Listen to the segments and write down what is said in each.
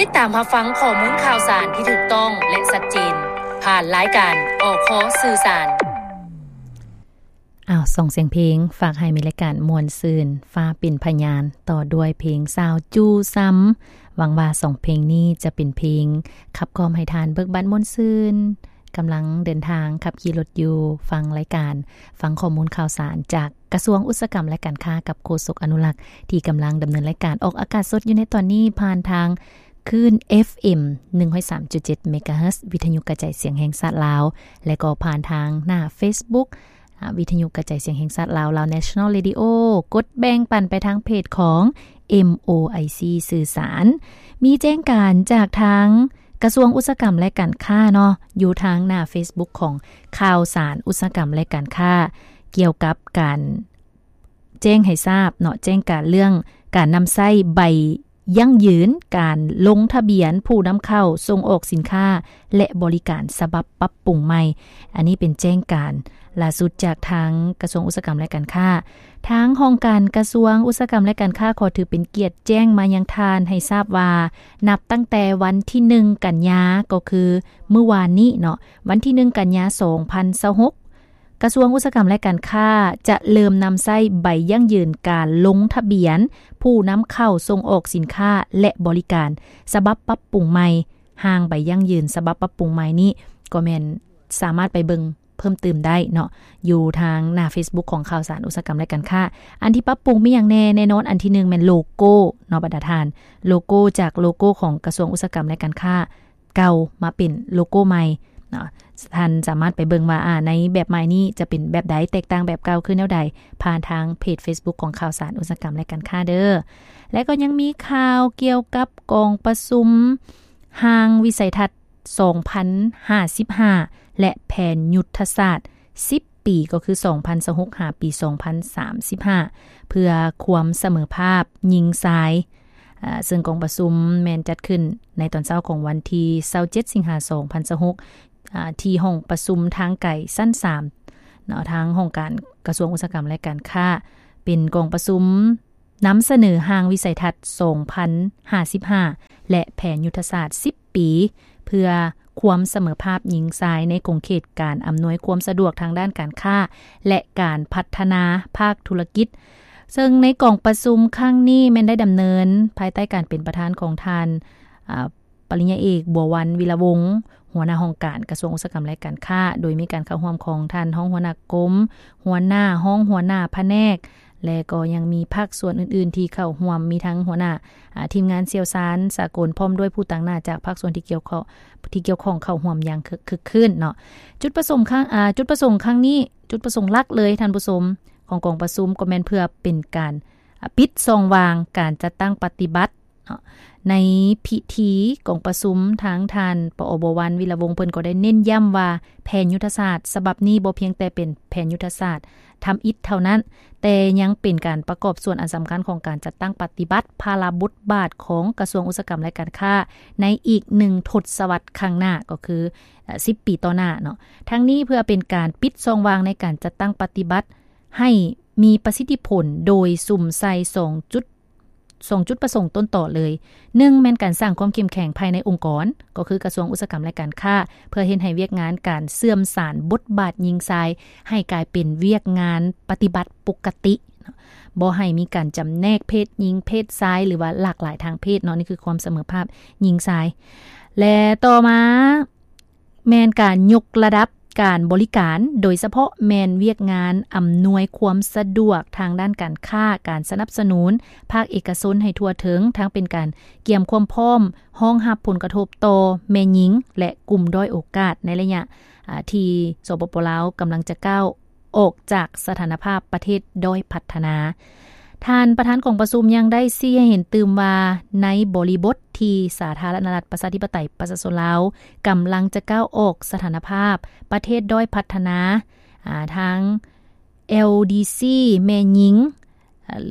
ຕິດຕາມຮັບຟັງຂໍ້ມູນຂ່າວສານທີ່ຖືກຕ້ອງ ແລະ ຊັດເຈນ ຜ່ານລາຍການ ອຄ ສື່ສານ. ອ້າວ ສອງສຽງເພງ ຝາກໃຫ້ມີລາຍການມ່ວນຊື່ນ ຟ້າເປັນພະຍານ ຕໍ່ດ້ວຍເພງສາວຈູ່ຊ້ຳ. ຫວັງວ່າສອງເພງນີ້ຈະເປັນເພງຂັບກລ່ອມໃຫ້ທ່ານເບີກບານມ່ວນຊື່ນ ກຳລັງເດີນທາງຂັບຂີ່ລົດຢູ່ ຟັງລາຍການ ຟັງຂໍ້ມູນຂ່າວສານຈາກ ກະຊວງອຸດສາຫະກຳ ແລະ ການຄ້າ ກັບໂຄສົກອະນຸລັກ ທີ່ກຳລັງດຳເນີນລາຍການອອກອາກາດສົດຢູ່ໃນຕອນນີ້ ຜ່ານທາງຄື້ນ ເອັຟເອັມ ໜຶ່ງຮ້ອຍສາມຈຸດເຈັດ ເມກາເຮີດ ວິທະຍຸກະຈາຍສຽງແຫ່ງຊາດລາວ ແລະ ກໍຜ່ານທາງໜ້າເຟສບຸກ ອາ ວິທະຍຸກະຈາຍສຽງແຫ່ງຊາດລາວ ລາວ National Radio ກົດແບ່ງປັນໄປທາງເພຈຂອງ ເອັມໂອໄອຊີ ສື່ສານ. ມີແຈ້ງການຈາກທາງ ກະຊວງອຸດສາຫະກຳ ແລະ ການຄ້າເນາະ ຢູ່ທາງໜ້າເຟສບຸກຂອງຂ່າວສານອຸດສາຫະກຳ ແລະ ການຄ້າ ກ່ຽວກັບການແຈ້ງໃຫ້ຊາບເນາະ ແຈ້ງການເລື່ອງການນຳໃຊ້ໃບຢັ້ງຢືນ ການລົງທະບຽນຜູ້ນຳເຂົ້າສົ່ງອອກສິນຄ້າ ແລະ ບໍລິການ ສະບັບປັບປຸງໃໝ່. ອັນນີ້ເປັນແຈ້ງການລ່າສຸດຈາກທາງກະຊວງອຸດສາຫະກຳ ແລະ ການຄ້າ. ທາງຫ້ອງການກະຊວງອຸດສາຫະກຳ ແລະ ການຄ້າ ຂໍຖືເປັນກຽດແຈ້ງມາຍັງທ່ານໃຫ້ຊາບວ່າ ນັບຕັ້ງແຕ່ວັນທີໜຶ່ງ ກັນຍາ ກໍຄືມື້ວານນີ້ເນາະ ວັນທີໜຶ່ງ ກັນຍາ ສອງພັນຊາວຫົກ ກະຊວງອຸດສາຫະກຳ ແລະ ການຄ້າ ຈະເລີ່ມນຳໃຊ້ໃບຢັ້ງຢືນການລົງທະບຽນຜູ້ນຳເຂົ້າສົ່ງອອກສິນຄ້າ ແລະ ບໍລິການ ສະບັບປັບປຸງໃໝ່. ຮ່າງໃບຢັ້ງຢືນສະບັບປັບປຸງໃໝ່ນີ້ ກໍແມ່ນສາມາດໄປເບິ່ງ ເພີ່ມຕື່ມໄດ້ເນາະ ຢູ່ທາງໜ້າເຟສບຸກຂອງຂ່າວສານອຸດສາຫະກຳ ແລະ ການຄ້າ. ອັນທີ່ປັບປຸງມີຫຍັງແດ່? ແນ່ນອນ ອັນທີໜຶ່ງແມ່ນໂລໂກ້ເນາະ ບັນດາທ່ານ ໂລໂກ້ ຈາກໂລໂກ້ຂອງກະຊວງອຸດສາຫະກຳ ແລະ ການຄ້າເກົ່າ ມາເປັນໂລໂກ້ໃໝ່ເນາະ. ທ່ານສາມາດໄປເບິ່ງວ່າ ອາ ໃນແບບໃໝ່ນີ້ຈະເປັນແບບໃດ ແຕກຕ່າງແບບເກົ່າຄືແນວໃດ ຜ່ານທາງເພຈເຟສບຸກຂອງຂ່າວສານອຸດສາຫະກຳ ແລະ ການຄ້າເດີ. ແລະ ກໍຍັງມີຂ່າວກ່ຽວກັບກອງປະຊຸມຮ່າງວິໄສທັດ ສອງພັນຫ້າສິບຫ້າ ແລະ ແຜນຍຸດທະສາດສິບປີ ກໍຄື ສອງພັນຊາວຫົກ ຫາປີ ສອງພັນສາມສິບຫ້າ ເພື່ອຄວາມສະເໝີພາບຍິງຊາຍ ອາ ເຊິ່ງກອງປະຊຸມແມ່ນຈັດຂຶ້ນໃນຕອນເຊົ້າຂອງວັນທີຊາວເຈັດ ສິງຫາ ສອງພັນຊາວຫົກ ອາ ທີ່ຫ້ອງປະຊຸມທາງໄກຊັ້ນສາມເນາະ ທາງຫ້ອງການກະຊວງອຸດສາຫະກຳ ແລະ ການຄ້າ ເປັນກອງປະຊຸມ ນຳສະເໜີຮ່າງວິໄສທັດ ສອງພັນຫ້າສິບຫ້າ ແລະ ແຜນຍຸດທະສາດສິບປີ ເພື່ອຄວາມສະເໝີພາບຍິງຊາຍໃນຂົງເຂດການອຳນວຍຄວາມສະດວກທາງດ້ານການຄ້າ ແລະ ການພັດທະນາພາກທຸລະກິດ. ເຊິ່ງໃນກອງປະຊຸມຄັ້ງນີ້ແມ່ນໄດ້ດຳເນີນພາຍໃຕ້ການເປັນປະທານຂອງທ່ານ ອາ ປະລິນຍາເອກ ບົວວັນ ວິລະວົງ ຫົວໜ້າຫ້ອງການກະຊວງອຸດສາຫະກຳ ແລະ ການຄ້າ, ໂດຍມີການເຂົ້າຮ່ວມຂອງທ່ານຮອງຫົວໜ້າກົມ, ຫົວໜ້າ, ຮອງຫົວໜ້າພະແນກ ແລະ ກໍຍັງມີພາກສ່ວນອື່ນໆທີ່ເຂົ້າຮ່ວມ, ມີທັງຫົວໜ້າ, ອາ, ທີມງານຊ່ຽວຊານສາກົນ ພ້ອມດ້ວຍຜູ້ຕາງໜ້າຈາກພາກສ່ວນທີ່ກ່ຽວຂ້ອງ, ທີ່ກ່ຽວຂ້ອງເຂົ້າຮ່ວມຢ່າງຄຶກ, ຄຶກຄື້ນເນາະ. ຈຸດປະສົງຄັ້ງ, ອາ, ຈຸດປະສົງຄັ້ງນີ້, ຈຸດປະສົງຫຼັກເລີຍທ່ານຜູ້ຊົມ, ຂອງກອງປະຊຸມກໍແມ່ນເພື່ອເປັນການ, ອາ, ປິດຊ່ອງວ່າງການຈັດຕັ້ງປະຕິບັດ ເນາະ. ໃນພິທີກອງປະຊຸມ ທາງທ່ານ ປອ ບົວວັນ ວິລະວົງ ເພິ່ນກໍໄດ້ເນັ້ນຢ້ຳວ່າ ແຜນຍຸດທະສາດສະບັບນີ້ບໍ່ພຽງແຕ່ເປັນແຜນຍຸດທະສາດທຳອິດເທົ່ານັ້ນ, ແຕ່ຍັງເປັນການປະກອບສ່ວນອັນສຳຄັນຂອງການຈັດຕັ້ງປະຕິບັດພາລະບົດບາດຂອງກະຊວງອຸດສາຫະກຳ ແລະ ການຄ້າ ໃນອີກໜຶ່ງທົດສະວັດຂ້າງໜ້າ, ກໍຄື ເອີ່ ສິບປີຕໍ່ໜ້າເນາະ. ທັງນີ້ເພື່ອເປັນການປິດຊ່ອງວ່າງໃນການຈັດຕັ້ງປະຕິບັດໃຫ້ມີປະສິດທິຜົນ ໂດຍສຸມໃສ່ສອງຈຸດ ສອງຈຸດປະສົງຕົ້ນຕໍເລີຍ. ໜຶ່ງ ແມ່ນການສ້າງຄວາມເຂັ້ມແຂງພາຍໃນອົງກອນ, ກໍຄືກະຊວງອຸດສາຫະກຳ ແລະ ການຄ້າ, ເພື່ອເຮັດໃຫ້ວຽກງານການເຊື່ອມສານບົດບາດຍິງຊາຍ ໃຫ້ກາຍເປັນວຽກງານປະຕິບັດປົກກະຕິ, ບໍ່ໃຫ້ມີການຈຳແນກເພດຍິງເພດຊາຍ ຫຼືວ່າຫຼາກຫຼາຍທາງເພດເນາະ, ນີ້ຄືຄວາມສະເໝີພາບຍິງຊາຍ. ແລະ ຕໍ່ມາ ແມ່ນການຍົກລະດັບການບໍລິການ, ໂດຍສະເພາະແມ່ນວຽກງານອຳນວຍຄວາມສະດວກທາງດ້ານການຄ້າ, ການສະໜັບສະໜູນພາກເອກະຊົນໃຫ້ທົ່ວເຖິງ, ທັງເປັນການກຽມຄວາມພ້ອມຮອງຮັບຜົນກະທົບຕໍ່ແມ່ຍິງ ແລະ ກຸ່ມດ້ອຍໂອກາດໃນໄລຍະ, ອາ, ທີ່ ສປປ ລາວ ກຳລັງຈະກ້າວ ອອກຈາກສະຖານະພາບປະເທດດ້ອຍພັດທະນາ. ທ່ານປະທານກອງປະຊຸມຍັງໄດ້ຊີ້ໃຫ້ເຫັນຕື່ມວ່າ ໃນບໍລິບົດທີ່ສາທາລະນະລັດ ປະຊາທິປະໄຕ ປະຊາຊົນລາວ ກຳລັງຈະກ້າວອອກສະຖານະພາບປະເທດດ້ອຍພັດທະນາ, ອາ, ທາງ ແອລດີຊີ ແມ່ຍິງ, ອາ,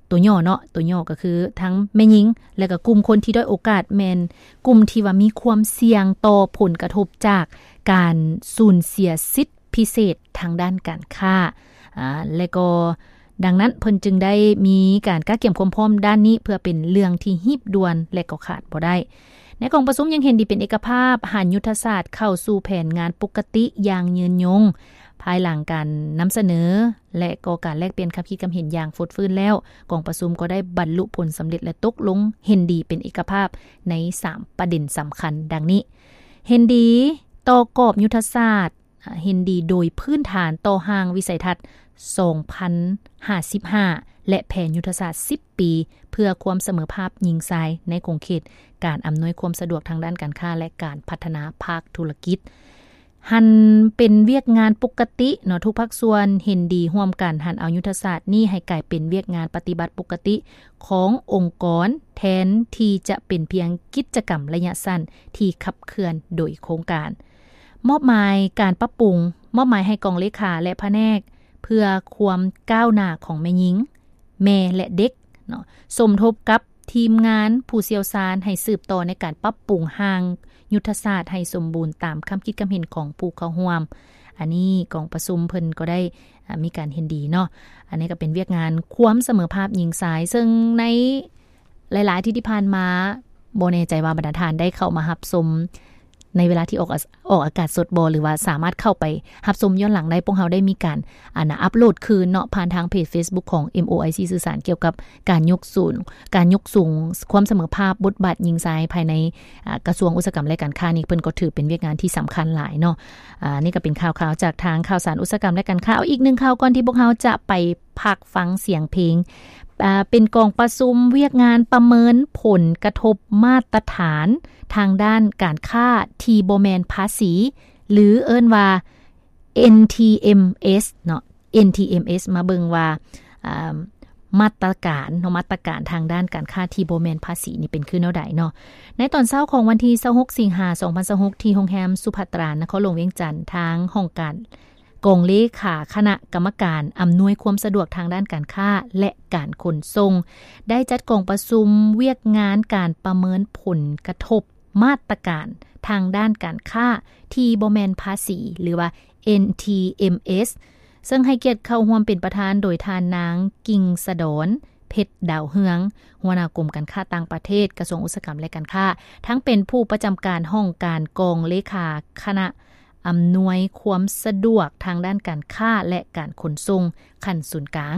ຕົວຫຍໍ້ເນາະ, ຕົວຫຍໍ້ກໍຄືທັງແມ່ຍິງ ແລະ ກໍກຸ່ມຄົນທີ່ດ້ອຍໂອກາດ ແມ່ນກຸ່ມທີ່ວ່າມີຄວາມສ່ຽງຕໍ່ຜົນກະທົບຈາກການສູນເສຍສິດ ພິເສດທາງດ້ານການຄ້າ, ອາ, ແລະ ກໍ ດັ່ງນັ້ນເພິ່ນຈຶ່ງໄດ້ມີການກະກຽມຄວາມພ້ອມດ້ານນີ້ ເພື່ອເປັນເລື່ອງທີ່ຮີບດ່ວນ ແລະ ກໍຂາດບໍ່ໄດ້. ໃນກອງປະຊຸມຍັງເຫັນດີເປັນເອກະພາບ ຫັນຍຸດທະສາດເຂົ້າສູ່ແຜນງານປົກກະຕິຢ່າງຍືນຍົງ. ພາຍຫຼັງການນຳສະເໜີ ແລະ ກໍການແລກປ່ຽນຄຳຄິດຄຳເຫັນຢ່າງຟົດຟື້ນແລ້ວ, ກອງປະຊຸມກໍໄດ້ບັນລຸຜົນສຳເລັດ ແລະ ຕົກລົງເຫັນດີເປັນເອກະພາບໃນສາມປະເດັນສຳຄັນດັ່ງນີ້: ເຫັນດີຕໍ່ກອບຍຸດທະສາດ, ເຫັນດີໂດຍພື້ນຖານຕໍ່ຮ່າງວິໄສທັດສອງພັນຫ້າສິບຫ້າ ແລະ ແຜນຍຸດທະສາດສິບປີ ເພື່ອຄວາມສະເໝີພາບຍິງຊາຍໃນຂົງເຂດການອຳນວຍຄວາມສະດວກທາງດ້ານການຄ້າ ແລະ ການພັດທະນາພາກທຸລະກິດ. ຫັນເປັນວຽກງານປົກກະຕິເນາະ, ທຸກພາກສ່ວນເຫັນດີຮ່ວມກັນຫັນເອົາຍຸດທະສາດນີ້ໃຫ້ກາຍເປັນວຽກງານປະຕິບັດປົກກະຕິຂອງອົງກອນ ແທນທີ່ຈະເປັນພຽງກິດຈະກຳໄລຍະສັ້ນທີ່ຂັບເຄື່ອນໂດຍໂຄງການ. ມອບໝາຍການປັບປຸງ, ມອບໝາຍໃຫ້ກອງເລຂາ ແລະ ພະແນກເພື່ອຄວາມກ້າວໜ້າຂອງແມ່ຍິງ, ແມ່ ແລະ ເດັກເນາະ, ສົມທົບກັບທີມງານຜູ້ຊ່ຽວຊານໃຫ້ສືບຕໍ່ໃນການປັບປຸງຮ່າງຍຸດທະສາດໃຫ້ສົມບູນຕາມຄຳຄິດຄຳເຫັນຂອງຜູ້ເຂົ້າຮ່ວມ. ອັນນີ້ກອງປະຊຸມເພິ່ນກໍໄດ້ ອາ ມີການເຫັນດີເນາະ. ອັນນີ້ກໍເປັນວຽກງານຄວາມສະເໝີພາບຍິງຊາຍ, ເຊິ່ງໃນ ຫຼາຍໆ ທີ່ ທີ່ຜ່ານມາ ບໍ່ແນ່ໃຈວ່າບັນດາທ່ານໄດ້ເຂົ້າມາຮັບຊົມໃນເວລາທີ່ອອກອາ ອອກອາກາດສົດບໍ່ ຫຼືວ່າສາມາດເຂົ້າໄປຮັບຊົມຍ້ອນຫຼັງໄດ້. ພວກເຮົາໄດ້ມີການ ອັນນະ ອັບໂຫຼດຄືນເນາະ ຜ່ານທາງເພຈເຟສບຸກຂອງ ເອັມໂອໄອຊີ ສື່ສານກ່ຽວກັບການຍົກສູງ ການຍົກສູງຄວາມສະເໝີພາບບົດບາດຍິງຊາຍພາຍໃນ ອາ ກະຊວງອຸດສາຫະກຳ ແລະ ການຄ້າ. ນີ້ເພິ່ນກໍຖືເປັນວຽກງານທີ່ສຳຄັນຫຼາຍເນາະ. ອາ ນີ້ກໍເປັນຂ່າວຄາວຈາກທາງຂ່າວສານອຸດສາຫະກຳ ແລະ ການຄ້າ. ເອົາອີກໜຶ່ງຂ່າວກ່ອນທີ່ພວກເຮົາຈະໄປ ພັກຟັງສຽງເພງ. ເປັນກອງປະຊຸມວຽກງານປະເມີນຜົນກະທົບມາດຕະຖານທາງດ້ານການຄ້າທີ່ບໍ່ແມ່ນພາສີ ຫຼື ເອີ້ນວ່າ ເອັນທີເອັມເອສ ເນາະ, ເອັນທີເອັມເອສ ມາເບິ່ງວ່າ ອາ ມາດຕະການເນາະ, ມາດຕະການທາງດ້ານການຄ້າທີ່ບໍ່ແມ່ນພາສີນີ້ເປັນຄືແນວໃດເນາະ. ໃນຕອນເຊົ້າຂອງວັນທີຊາວຫົກ ສິງຫາ ສອງພັນຊາວຫົກ ທີ່ໂຮງແຮມສຸພັດຕາ ນະຄອນຫຼວງວຽງຈັນ, ທາງຫ້ອງການ ກອງເລຂາຄະນະກຳມະການອຳນວຍຄວາມສະດວກທາງດ້ານການຄ້າ ແລະ ການຂົນສົ່ງ ໄດ້ຈັດກອງປະຊຸມວຽກງານການປະເມີນຜົນກະທົບມາດຕະການທາງດ້ານການຄ້າທີ່ບໍ່ແມ່ນພາສີ ຫຼືວ່າ ເອັນທີເອັມເອສ ເຊິ່ງໃຫ້ກຽດເຂົ້າຮ່ວມເປັນປະທານໂດຍທ່ານນາງ ກິ່ງສະດອນ ເພັດດາວເຮືອງ, ຫົວໜ້າກົມການຄ້າຕ່າງປະເທດ, ກະຊວງອຸດສາຫະກຳ ແລະ ການຄ້າ, ທັງເປັນຜູ້ປະຈຳການຫ້ອງການກອງເລຂາຄະນະ ອຳນວຍຄວາມສະດວກທາງດ້ານການຄ້າ ແລະ ການຂົນສົ່ງຂັ້ນສູນກາງ,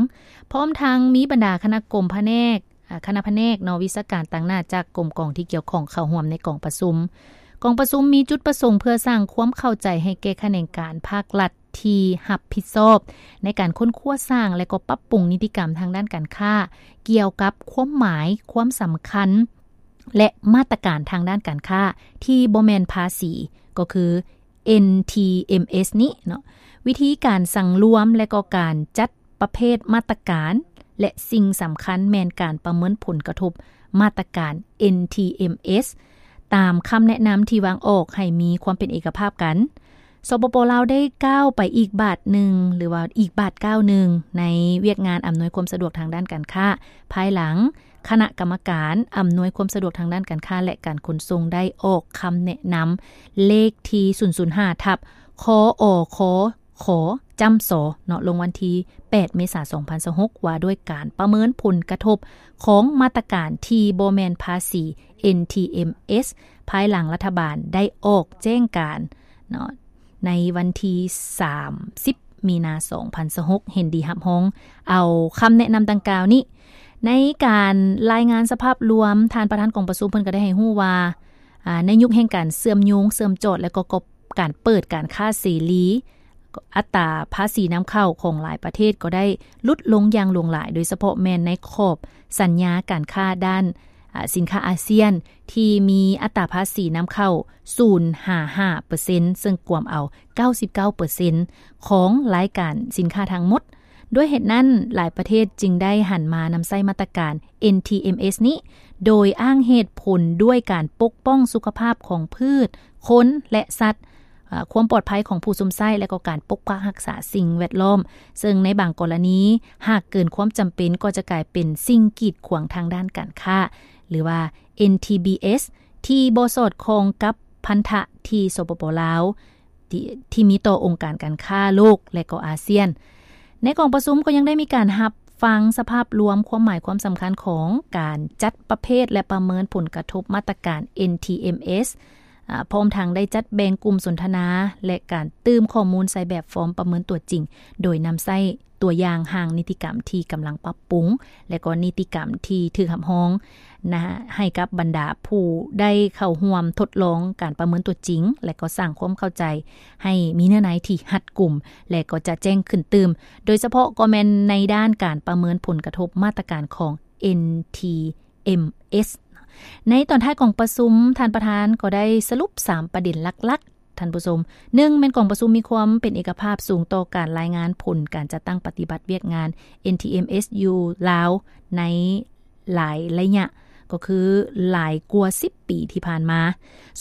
ພ້ອມທັງມີບັນດາຄະນະກົມພະແນກ, ອາ, ຄະນະພະແນກເນາະ, ວິຊາການຕາງໜ້າຈາກກົມກອງທີ່ກ່ຽວຂ້ອງເຂົ້າຮ່ວມໃນກອງປະຊຸມ. ກອງປະຊຸມມີຈຸດປະສົງເພື່ອສ້າງຄວາມເຂົ້າໃຈໃຫ້ແກ່ຂະແໜງການພາກລັດທີ່ຮັບຜິດຊອບໃນການຄົ້ນຄວ້າສ້າງ ແລະ ກໍປັບປຸງນິຕິກຳທາງດ້ານການຄ້າ ກ່ຽວກັບຄວາມໝາຍ, ຄວາມສຳຄັນ ແລະ ມາດຕະການທາງດ້ານການຄ້າທີ່ບໍ່ແມ່ນພາສີ ກໍຄື ເອັນທີເອັມເອສ ນີ້ເນາະ, ວິທີການສັງລວມ ແລະ ກໍການຈັດປະເພດມາດຕະການ ແລະ ສິ່ງສຳຄັນແມ່ນການປະເມີນຜົນກະທົບມາດຕະການ ເອັນທີເອັມເອສ ຕາມຄຳແນະນຳທີ່ວາງອອກໃຫ້ມີຄວາມເປັນເອກະພາບກັນ. ສປປ ລາວ ໄດ້ກ້າວໄປອີກບາດໜຶ່ງ ຫຼືວ່າອີກບາດກ້າວໜຶ່ງ ໃນວຽກງານອຳນວຍຄວາມສະດວກທາງດ້ານການຄ້າ ພາຍຫຼັງຄະນະກຳມະການອຳນວຍຄວາມສະດວກທາງດ້ານການຄ້າ ແລະ ການຂົນສົ່ງ ໄດ້ອອກຄຳແນະນຳເລກທີ ສູນສູນຫ້າ ທັບ ຄອຄ ຈຳ ສ ເນາະ ລົງວັນທີ ແປດ ເມສາ ສອງພັນຊາວຫົກ ວ່າດ້ວຍການປະເມີນຜົນກະທົບຂອງມາດຕະການທີ່ບໍ່ແມ່ນພາສີ ເອັນທີເອັມເອສ ພາຍຫຼັງລັດຖະບານໄດ້ອອກແຈ້ງການເນາະ ໃນວັນທີ ສາມສິບ ມີນາ ສອງພັນຊາວຫົກ ເຫັນດີຮັບຮອງເອົາຄຳແນະນຳດັ່ງກ່າວນີ້. ໃນການລາຍງານສະພາບລວມ, ທ່ານປະທານກອງປະຊຸມເພິ່ນກໍໄດ້ໃຫ້ຮູ້ວ່າ ອາ ໃນຍຸກແຫ່ງການເຊື່ອມໂຍງ, ເຊື່ອມຈອດ ແລະ ກໍ ກໍ ການເປີດການຄ້າເສລີ, ອັດຕາພາສີນຳເຂົ້າຂອງຫຼາຍປະເທດກໍໄດ້ຫຼຸດລົງຢ່າງຫຼວງຫຼາຍ, ໂດຍສະເພາະແມ່ນໃນຂອບສັນຍາການຄ້າດ້ານ ອາ ສິນຄ້າອາຊຽນ ທີ່ມີອັດຕາພາສີນຳເຂົ້າ ສູນ ຫາ ຫ້າເປີເຊັນ ເຊິ່ງກວມເອົາ ເກົ້າສິບເກົ້າເປີເຊັນ ຂອງລາຍການສິນຄ້າທັງໝົດ. ດ້ວຍເຫດນັ້ນ, ຫຼາຍປະເທດຈຶ່ງໄດ້ຫັນມານຳໃຊ້ມາດຕະການ ເອັນທີເອັມເອສ ນີ້ ໂດຍອ້າງເຫດຜົນດ້ວຍການປົກປ້ອງສຸຂະພາບຂອງພືດ, ຄົນ ແລະ ສັດ, ອາ, ຄວາມປອດໄພຂອງຜູ້ຊົມໃຊ້ ແລະ ກໍການປົກປັກຮັກສາສິ່ງແວດລ້ອມ, ເຊິ່ງໃນບາງກໍລະນີ ຫາກເກີນຄວາມຈຳເປັນ ກໍຈະກາຍເປັນສິ່ງກີດຂວາງທາງດ້ານການຄ້າ ຫຼືວ່າ ເອັນທີບີເອສ ທີ່ບໍ່ສອດຄ່ອງກັບພັນທະທີ່ ສປປ ລາວ ທີ່ ທີ່ມີຕໍ່ອົງການການຄ້າໂລກ ແລະ ກໍອາຊຽນ. ໃນກອງປະຊຸມກໍຍັງໄດ້ມີການຮັບ ຟັງສະພາບລວມຄວາມໝາຍຄວາມສຳຄັນຂອງການຈັດປະເພດ ແລະ ປະເມີນຜົນກະທົບມາດຕະການ ເອັນທີເອັມເອສ ອາ ພ້ອມທັງໄດ້ຈັດແບ່ງກຸ່ມສົນທະນາ ແລະ ການຕື່ມຂໍ້ມູນໃສ່ແບບຟອມປະເມີນຕົວຈິງ ໂດຍນຳໃຊ້ຕົວຢ່າງຮ່າງນິຕິກຳທີ່ກຳລັງປັບປຸງ ແລະ ກໍນິຕິກຳທີ່ຖືກຮັບຮອງນະ ໃຫ້ກັບບັນດາຜູ້ໄດ້ເຂົ້າຮ່ວມທົດລອງການປະເມີນຕົວຈິງ ແລະ ກໍສ້າງຄວາມເຂົ້າໃຈໃຫ້ມີເນື້ອໃນທີ່ຮັດກຸມ ແລະ ກໍຈະແຈ້ງຂຶ້ນຕື່ມ ໂດຍສະເພາະກໍແມ່ນໃນດ້ານການປະເມີນຜົນກະທົບມາດຕະການຂອງ ເອັນທີເອັມເອສ. ໃນຕອນທ້າຍຂອງປະຊຸມ ທ່ານປະທານກໍໄດ້ສະຫຼຸບສາມປະເດັນຫຼັກໆ ທ່ານຜູ້ຊົມ. ໜຶ່ງ ແມ່ນກອງປະຊຸມມີຄວາມເປັນເອກະພາບສູງຕໍ່ການລາຍງານຜົນການຈັດຕັ້ງປະຕິບັດວຽກງານ ເອັນທີເອັມເອສ ຢູ່ລາວໃນຫຼາຍໄລຍະ ກໍຄືຫຼາຍກວ່າສິບປີທີ່ຜ່ານມາ.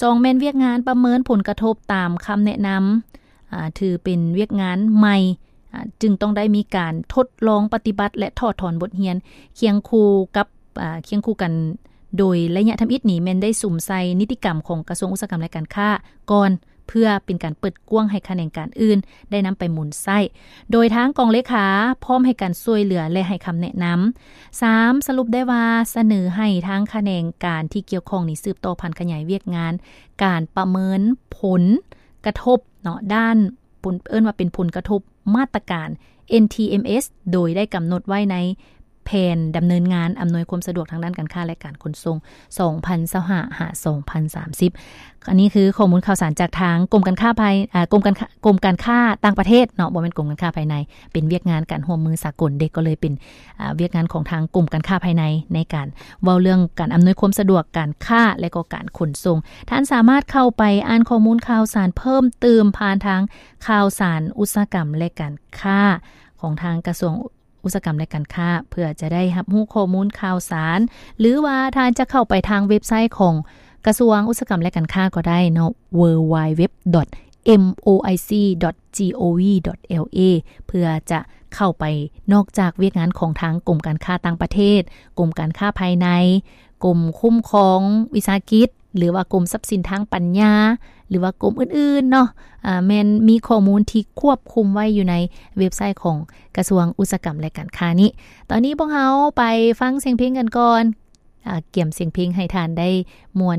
ສອງ ແມ່ນວຽກງານປະເມີນຜົນກະທົບຕາມຄຳແນະນຳ ອາ ຖືເປັນວຽກງານໃໝ່ ອາ ຈຶ່ງຕ້ອງໄດ້ມີການທົດລອງປະຕິບັດ ແລະ ຖອດຖອນບົດຮຽນ ຄຽງຄູ່ກັບ ອາ ຄຽງຄູ່ກັນ ໂດຍໄລຍະທຳອິດນີ້ແມ່ນໄດ້ສຸມໃສ່ນິຕິກຳຂອງກະຊວງອຸດສາຫະກຳ ແລະ ການຄ້າກ່ອນ ເພື່ອເປັນການເປີດກວ້າງໃຫ້ຂະແໜງການອື່ນໄດ້ນຳໄປໝູນໃຊ້ ໂດຍທາງກອງເລຂາພ້ອມໃຫ້ການຊ່ວຍເຫຼືອ ແລະ ໃຫ້ຄຳແນະນຳ. ສາມ ສະຫຼຸບໄດ້ວ່າສະເໜີໃຫ້ທາງຂະແໜງການທີ່ກ່ຽວຂ້ອງນີ້ສືບຕໍ່ຜັນຂະຫຍາຍວຽກງານການປະເມີນຜົນກະທົບເນາະ ດ້ານ ເອີ້ນວ່າເປັນຜົນກະທົບມາດຕະການ ເອັນທີເອັມເອສ ໂດຍໄດ້ກຳນົດໄວ້ໃນແຜນດຳເນີນງານອຳນວຍຄວາມສະດວກທາງດ້ານການຄ້າ ແລະ ການຂົນສົ່ງ ສອງພັນຊາວຫ້າ ຫາ ສອງພັນສາມສິບ. ອັນນີ້ຄືຂໍ້ມູນຂ່າວສານຈາກທາງກົມການຄ້າພາຍ ອາ ກົມການຄ້າ ກົມການຄ້າຕ່າງປະເທດເນາະ ບໍ່ແມ່ນກົມການຄ້າພາຍໃນ ເປັນວຽກງານການຮ່ວມມືສາກົນເດ ກໍເລີຍເປັນ ອາ ວຽກງານຂອງທາງກົມການຄ້າພາຍໃນ ໃນການເວົ້າເລື່ອງການອຳນວຍຄວາມສະດວກການຄ້າ ແລະ ກໍການຂົນສົ່ງ. ທ່ານສາມາດເຂົ້າໄປອ່ານຂໍ້ມູນຂ່າວສານເພີ່ມຕື່ມຜ່ານທາງຂ່າວສານອຸດສາຫະກຳ ແລະ ການຄ້າ ຂອງທາງກະຊວງອຸດສາຫະກຳ ແລະ ການຄ້າ ເພື່ອຈະໄດ້ຮັບຮູ້ຂໍ້ມູນຂ່າວສານ ຫຼືວ່າທ່ານຈະເຂົ້າໄປທາງເວັບໄຊຂອງກະຊວງອຸດສາຫະກຳ ແລະ ການຄ້າກໍໄດ້ເນາະ ເວີໄວເວັບ ດອດ ເອັມໂອໄອຊີ ດອດ ຈີໂອວີ ດອດ ແອລເອ ເພື່ອຈະເຂົ້າໄປ ນອກຈາກວຽກງານຂອງທາງກົມການຄ້າຕ່າງປະເທດ, ກົມການຄ້າພາຍໃນ, ກົມຄຸ້ມຄອງວິສາຫະກິດ ຫຼືວ່າກົມຊັບສິນທາງປັນຍາ ຫຼືວ່າກົມອື່ນໆເນາະ ອາ ແມ່ນມີຂໍ້ມູນທີ່ຄວບຄຸມໄວ້ຢູ່ໃນເວັບໄຊຂອງກະຊວງອຸດສາຫະກຳ ແລະ ການຄ້ານີ້. ຕອນນີ້ພວກເຮົາໄປຟັງສຽງເພງກັນກ່ອນ ອາ ກຽມສຽງເພງໃຫ້ທ່ານໄດ້ມ່ວນ